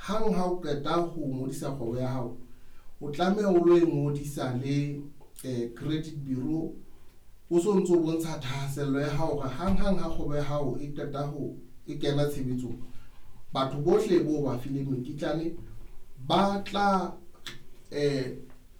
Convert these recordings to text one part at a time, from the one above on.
Hang ha o qeta ho ngodisa kgwebo ya hao, o tlameha o lo e ngodisa le credit bureau. O so ntso bontsha thahasello ya hao hore hang hang ha kgwebo ya hao e qeta ho e kena tshebetsong, batho bohle bo ba fileng mekitlane ba tla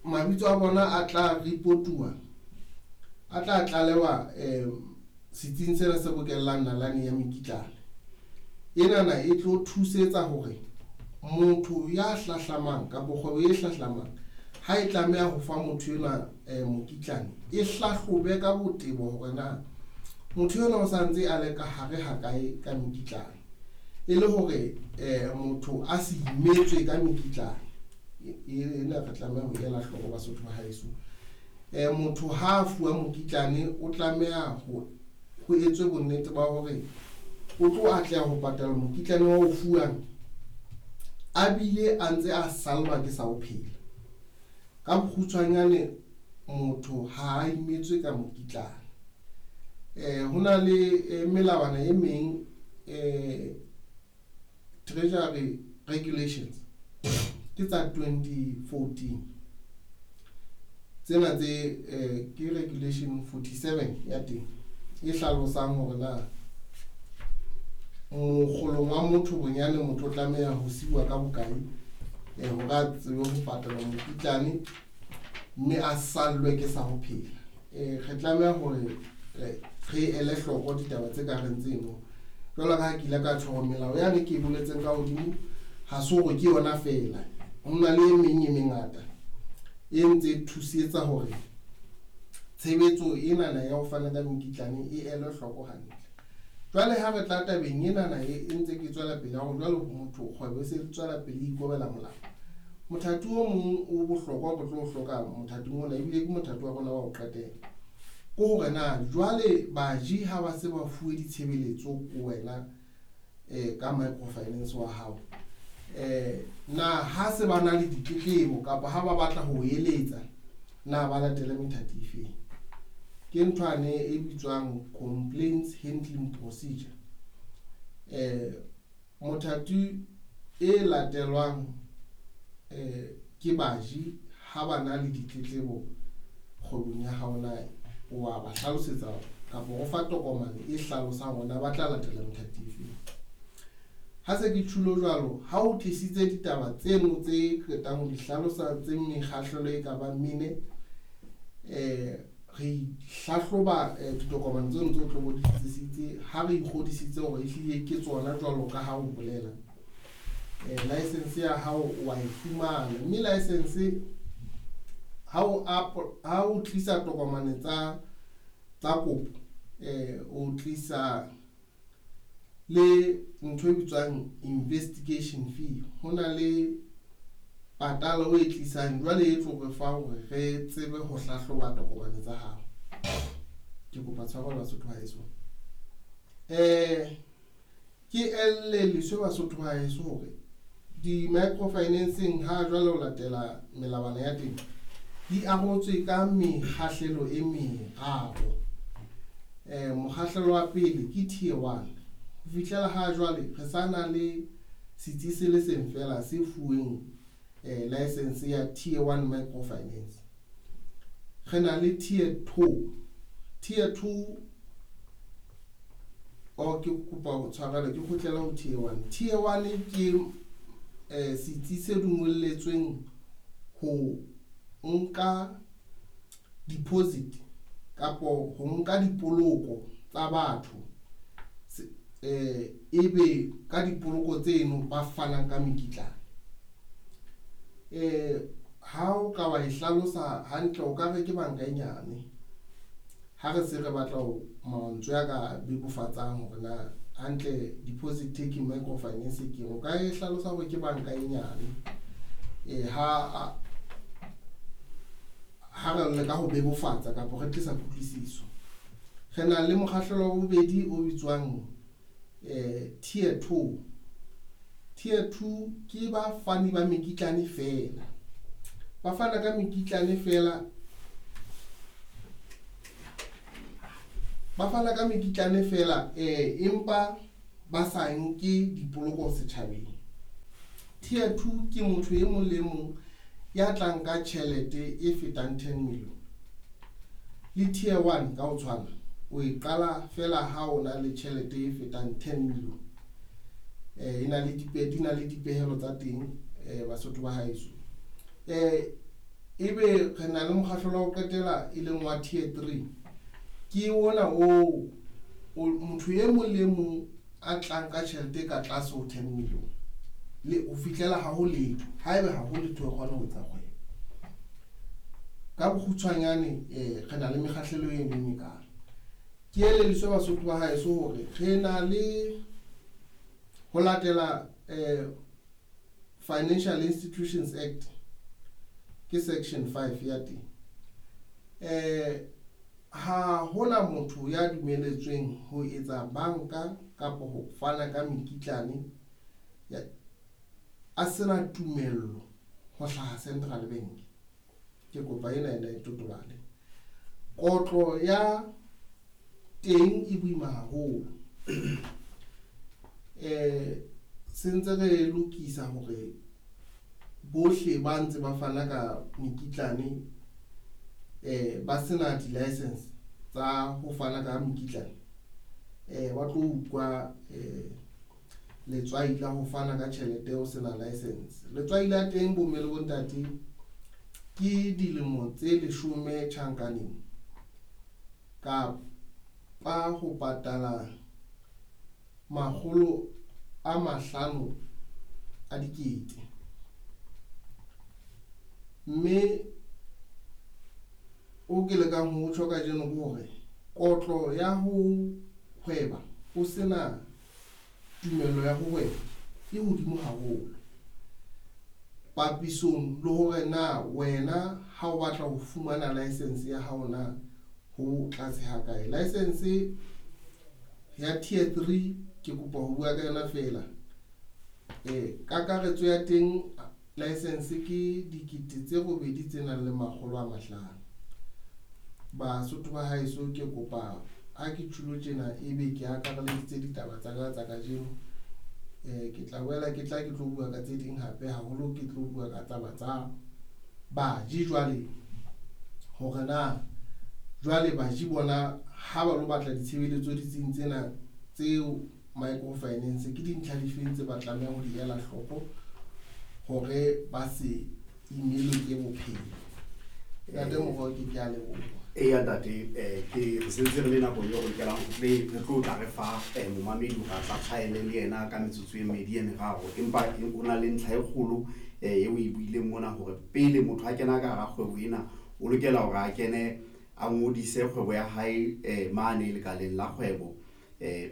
mabitso a bona a tla reportuwa, a tla tlalewa setsing sena se bokellang nalane ya mekitlane. Enana e tlo thusetsa hore motho ya hlahlamang kapa kgwebo e hlahlamang ha e tlameha ho fa motho enwa mokitlane, e hlahlobe ka botebo hore na motho enwa o santse a le ka hare ha kae ka mekitlane, e le hore motho a se imetswe ka mekitlane. Ena re tlameha ho ela hloko Basotho ba haeso. Motho ha a fuwa mokitlane o tlameha ho etswe bonnete ba hore o tlo atleha ho patala mokitlane wa o fuwang, a bile a ntse a sallwa ke sa ho phela. Ka bokgutshwanyane, motho ha a imetswe ka mokitlane. Ho na le melawana e meng, Treasury Regulations ke tsa 2014. Tsena tse ke regulation 47 ya teng e hlalosang hore na mokgolong wa motho bonyane motho o tlameha ho siuwa ka bokae hore a tsebe ho patala mokitlane mme a sallwe ke sa ho phela. Re tlameha hore re ele hloko ditaba tse ka reng tseno. Jwalo ka ha ke ile ka tjho hore melao yane ke e boletseng ka hodimo ha se hore ke yona feela, ho na le e meng e mengata e ntse e thusetsa hore tshebetso enana ya ho fana ka mekitlane e elwe hloko hantle. Jwale ha re tla tabeng enana e ntse ke tswela pele hore jwale motho kgwebo e se tswela pele e ikobela molao. Mothati o mong o bohlokwa re tlo hloka mothating ona, ebile ke mothati wa rona wa ho qetela, ke hore na jwale baji ha ba se ba fuwe ditshebeletso ko wena ka microfinance wa hao, na ha se ba na le ditletlebo kapa ha ba batla ho eletsa, na ba latele methati efeng? Ke nthwane e bitswang complaints handling procedure. Mothati e latelwang ke baji ha ba na le ditletlebo kgwebong ya hao, na wa ba hlalosetsa kapa o fa tokomane e hlalosang hore na ba tla latela methati efeng? Ha se ke tjhulo jwalo, ha o tlisitse ditaba tseno tse qetang ho di hlalosa tse mekgahlelo e ka bang mene, re hlahloba ditokomane tseno tse o tlo bo di tlisitse. Ha re ikgodisitse hore ehlile ke tsona jwalo ka ha o bolela, license ya hao wa e fumana. Mme license ha o tlisa tokomane tsa kopo, o tlisa le ntho e bitswang investigation fee. Ho na le patala o e tlisang jwale e tlo re fa hore re tsebe ho hlahloba tokomane tsa hao. Ke kopa tshwarelo Basotho ba heso. Ke elelliswe Basotho ba heso hore di-microfinancing ha jwale ho latela melawana ya teng di arotswe ka mekgahlelo e meraro. Mokgahlelo wa pele ke tier 1. Ho fihlela ha jwale re sa na le setsi se le seng feela se fuweng license ya tier 1 microfinance. Re na le tier 2. Tier 2 o ke kopa ho tshwarela ke kgutlela ho tier 1. Tier 1 ke setsi se dumelletsweng ho nka deposit kapo ho nka dipoloko tsa batho, ebe ka dipoloko tseno ba fanang ka mekitlane. Ha o ka wa e hlalosa hantle, o ka re ke banka e nyane. Ha re se re batla ho mantswe a ka bebofatsang hore na hantle deposit taking microfinance ke eng, o ka e hlalosa hore ke banka e nyane. Ha re leka ho bebofatsa kapa re tlisa kutlwisiso. Re na le mokgahlelo wa bobedi o bitswang tier 2. Tier 2 ke bafani ba mekitlane feela. Ba fana ka mekitlane feela. Ba fana ka mekitlane feela, empa ba sa nke dipoloko setjhabeng. Tier 2 ke motho e mong le mong ya tlang ka tjhelete e fetang 10 million. Le tier 1 ka ho tshwana, o e qala fela ha o na le tjhelete e fetang 10 million. E na le di na le dipehelo tsa teng, Basotho ba haeso. Ebe re na le mokgahlelo wa ho qetela e leng wa tier 3. Ke ona o motho e mong le mong a tlang ka tjhelete ka tlase ho 10 million. Le o fihlela ha ho letho, haebe ha ho letho e kgona ho etsa kgwebo. Ka bokgutshwanyane re na le mekgahlelo e meng e kalo. Ke elelliswe Basotho ba haeso hore re na le ho latela Financial Institutions Act ke section 5 ya teng. Ha hona motho ya dumeletsweng ho etsa banka kapa ho fana ka mekitlane a sena tumello ho hlaha Central Bank. Ke kopa ena e totobale. Kotlo ya teng e boima haholo. Se ntse re lokisa hore bohle ba ntse ba fana ka mekitlane ba sena di-license tsa ho fana ka mekitlane, ba tlo utlwa letswai la ho fana ka tjhelete o sena license. Letswai la teng, bomme le bontate, ke dilemo tse 10 tjhankaneng kapa ho patala 500 000. Mme o ke lekang ho tjho kajeno ke hore kotlo ya ho hweba o sena tumello ya ho hweba e hodimo haholo papisong le hore na wena ha o batla ho fumana license ya hao na ho tlase ha kae. License ya tier 3 ke kopa ho bua ka yona fela. Kakaretso ya teng license ke 8 500. Basotho ba haeso, ke kopa ha ke tjhulo tjena ebe ke akareleditse ditaba tsa ka tsa kajeno. Ke tla boela ke tla ke tlo bua ka tse ding hape, haholo ke tlo bua ka taba tsa baji jwale, hore na jwale baji bona ha ba lo batla ditshebeletso ditsing tsena tseo microfinance, ke dintlha difeng tse ba tlamehang ho di ela hloko hore ba se imelwe ke bophelo. Ntate Moroke, ke a leboha. Eya ntate, ke re sentse re le nakong eo re lokelang ho tle re tlo tla re fa momamedi hore a tla tshwaele le yena ka metsotso e mmedi e meraro, empa o na le ntlha e kgolo eo e buileng mona hore pele motho a kena ka hara kgwebo ena, o lokela hore a kene a ngodise kgwebo ya hae mane lekaleng la kgwebo,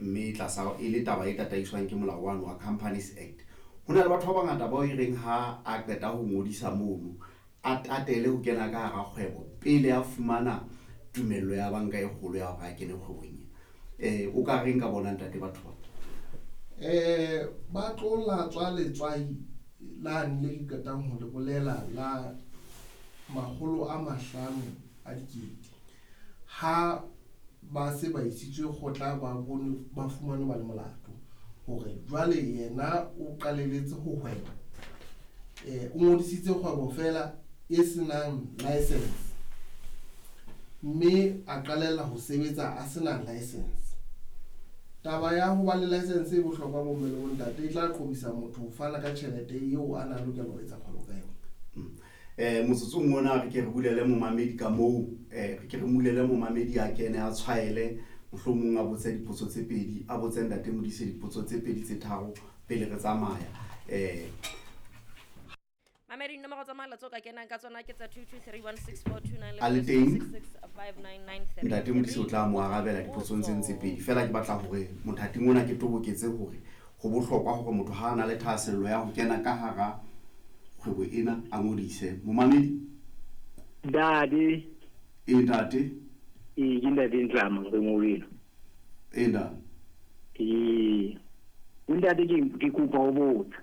mme tlasa e le taba e tataiswang ke molao wano wa Companies Act. Ho na le batho ba bangata bao e reng ha a qeta ho ngodisa mono, a tatele ho kena ka hara kgwebo pele a fumana tumello ya banka e kgolo ya hore a kene kgwebong ena. O ka reng ka bona, ntate, batho ba? Ba tlo latswa letswai lane le ke qetang ho le bolela la 500 000 ha ba se ba isitswe kgotla, ba bone ba fumanwe ba le molato hore jwale yena o qalelletse ho hweba, o ngodisitse kgwebo fela e senang license, mme a qalella ho sebetsa a sena license. Taba ya ho ba le license e bohlokwa, bomme le bontate, e tla qobisa motho ho fana ka tjhelete eo a na lokela ho etsa kgwebo ka yona. Motsotsong ona re ke re bulele momamedi ka moo, re ke re mulele momamedi a kene a tshwaele, mohlomong a botse dipotso tse pedi, a botse ntate Modise dipotso tse pedi tse tharo pele re tsamaya. Mamedi, dinomoro tsa mohala tseo ka kenang ka tsona ke tsa 22316429. A le teng? 66599. Ntate Modise o tla mo arabela dipotsong tse ntse pedi fela. Ke batla hore mothating ona ke toboketse hore ho bohlokwa hore motho ha a na le thahasello ya ho kena ka hara kgwebo ena a ngodise. Momamedi. Ntate. E, ntate. Ee, ke ntate Ntlama re ngoleno. E, ntate. Ee, ntate, ke kopa ho botsa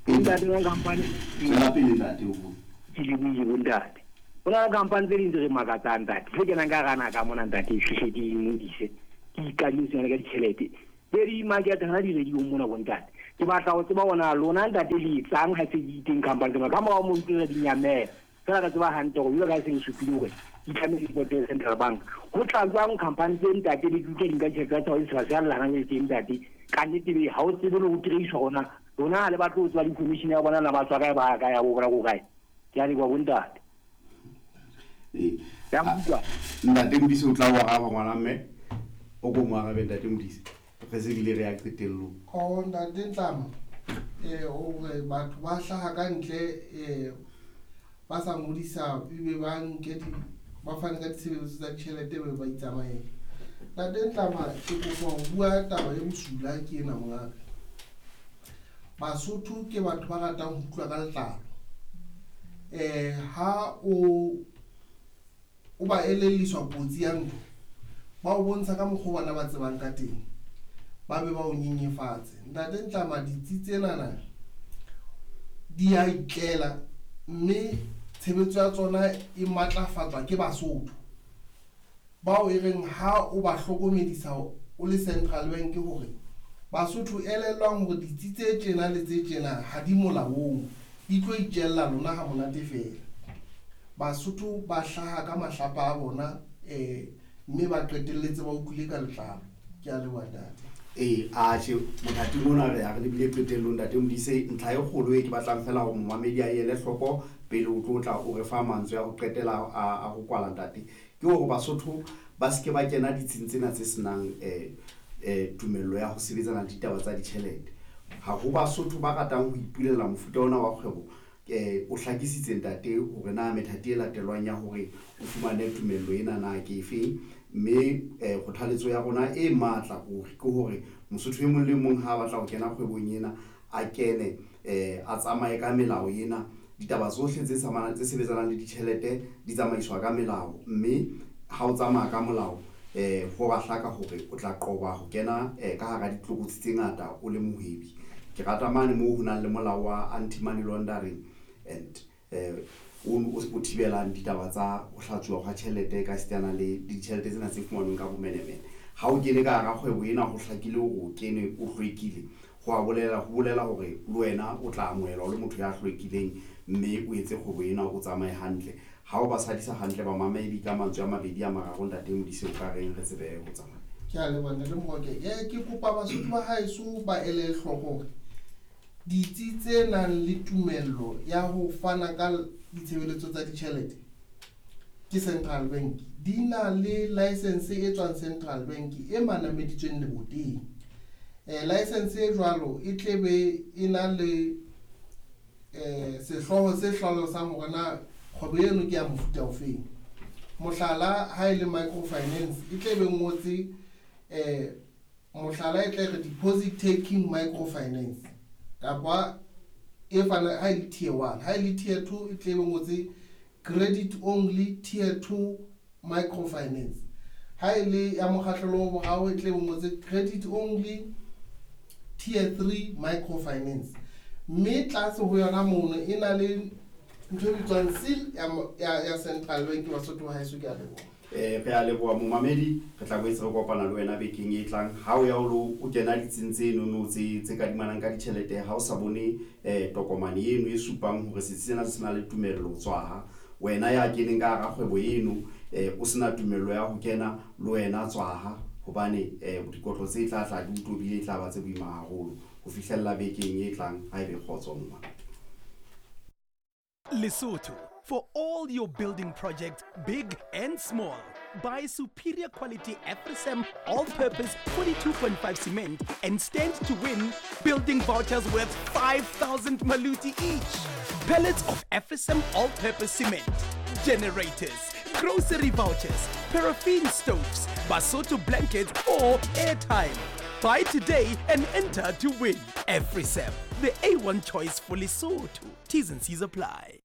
ntate wa company. Tswela pele, ntate, o bue. Ke le buile bo ntate, ho na le company tse ding tse re makatsang, ntate, tse kenang ka hara naha mona, ntate, fihle di ngodise, ke ikadime tsona ka ditjhelete tse di market hana di-radio mona bo ntate. Ke batla ho tseba hore na lona ntate le etsang ha se di teng company tsena. Ka morao moo tsena di nyamela. Fela re tseba hantle hore jwalo ka ha se le supile hore di tlamehile di reporte Central Bank. Ho tla jwang company tse ntate le di utlwa di nka tjhelete tsa tsona di sa lla hana jwale teng ntate. Ka nnete be ha o tsebe le ho trace hore na lona ha le batle ho tseba di-commission ya bona na ba tswa kae ba ya kae ya bo bona ko kae. Ke a leboha bontate. Ee. Ya nkutlwa? Ntate Modise o tla o araba ngwana mme. O ko mo arabe ntate Modise. Re se bile re ya qetellong. Oh ntate Ntlama, eh hore batho ba hlaha ka ntle eh ba sa ngodisa ebe ba nke di ba fane ka ditshebeletso tsa ditjhelete be ba itsamaela. Ntate Ntlama ke kopa ho bua taba e bosula ke ena mongaka. Basotho ke batho ba ratang ho utlwa ka letlalo. Eh ha o o ba elelliswa kotsi ya ntho, ba o bontsha ka mokgwa o bona ba tsebang ka teng, ba be ba o nyenyefatse. Ntate Ntlama ditsi tsenana di a itlela mme tshebetso ya tsona e matlafatswa ke Basotho bao e reng ha o ba hlokomedisa o le Central Bank hore Basotho elellwang hore ditsi tse tjena le tse tjena ha di molaong, di tlo itjella lona ha monate feela. Basotho ba hlaha ka mahlapa a bona um mme ba qetelletse ba utlwile ka letlalo. Ke a leboha ntate. Ee, atjhe mothating ona re ya re lebile qetellong ntate Modise. Ntlha e kgolo e ke batlang fela hore momamedi a ele hloko pele o tlo tla o re fa mantswe a ho qetela a ho kwala ntate, ke hore Basotho ba se ke ba kena ditsing tsena tse senang um tumello ya ho sebetsana le ditaba tsa ditjhelete. Ha ho Basotho ba ratang ho ipulela mofuta ona wa kgwebo. O hlakisitse ntate hore na methati e latelwang ya hore o fumane tumello ena na ke efeng, mme kgothaletso ya rona e matla ruri ke hore Mosotho e mong le mong ha a batla ho kena kgwebong ena a kene, a tsamaye ka melao ena. Ditaba tsohle tse tse sebetsanang le ditjhelete di tsamaiswa ka melao, mme ha o tsamaya ka molao ho ba hlaka hore o tla qoba ho kena ka hara ditlokotsi tse ngata o le mohwebi. Ke rata mane moo ho nang le molao wa anti-money laundering and o thibelang ditaba tsa ho hlatsuwa hwa tjhelete ka sitana le ditjhelete tsena tse fumanweng ka bomenemene. Ha o kene ka hara kgwebo ena ho hlakile hore o kene o hlwekile, ho a bolela ho bolela hore le wena o tla amohelwa o le motho ya hlwekileng mme o etse kgwebo ena o tsamaye hantle. Ha o ba sadisa hantle bamamedi ka mantswe a mabedi a mararo ntate Modise o ka reng re tsebe ho tsamaya. Ke a leboha ntate Mohoke. Ke kopa Basotho ba haeso ba ele hloko hore ditsi tse nang le tumello ya ho fana ka ditshebeletso tsa ditjhelete ke Central Bank di na le license e tswang Central Bank e manameditsweng leboteng. License e jwalo e tlebe e na le sehlooho se hlalosang hore na kgwebo eno ke ya mofuta ofeng. Mohlala ha e le microfinance e tlebe ngotse mohlala e tle re deposit taking microfinance kapa e fana ha e le tier 1, ha e le tier 2 e tlebe ngotse credit only tier 2 microfinance, ha e le ya mokgahlelo wa boraro e tlebe ngotse credit only tier 3 microfinance, mme tlase ho yona mono e na le ntho e bitswang seal ya Central Bank. Basotho ba haeso, ke a leboha. Re a leboha momamedi, re tla boetse re kopana le wena bekeng e tlang. Ha o ya o lo o kena ditsing tse nono tse kadimanang ka ditjhelete, ha o sa bone tokomane eno e supang hore setsi sena se na le tumello tswaha. Wena ya keneng ka hara kgwebo eno o sena tumello ya ho kena, le wena tswaha, hobane dikotlo tse tla tla di o tobile e tla ba tse boima haholo. Ho fihlella bekeng e tlang, ha ebe kgotso mma. Lesotho, for all your building projects, big and small. Buy superior quality AfriCem all-purpose 42.5 cement and stand to win building vouchers worth 5,000 maluti each. Pellets of AfriCem all-purpose cement, generators, grocery vouchers, paraffin stoves, Basotho blankets or airtime. Buy today and enter to win. AfriCem, the A1 choice for Lesotho. T's and C's apply.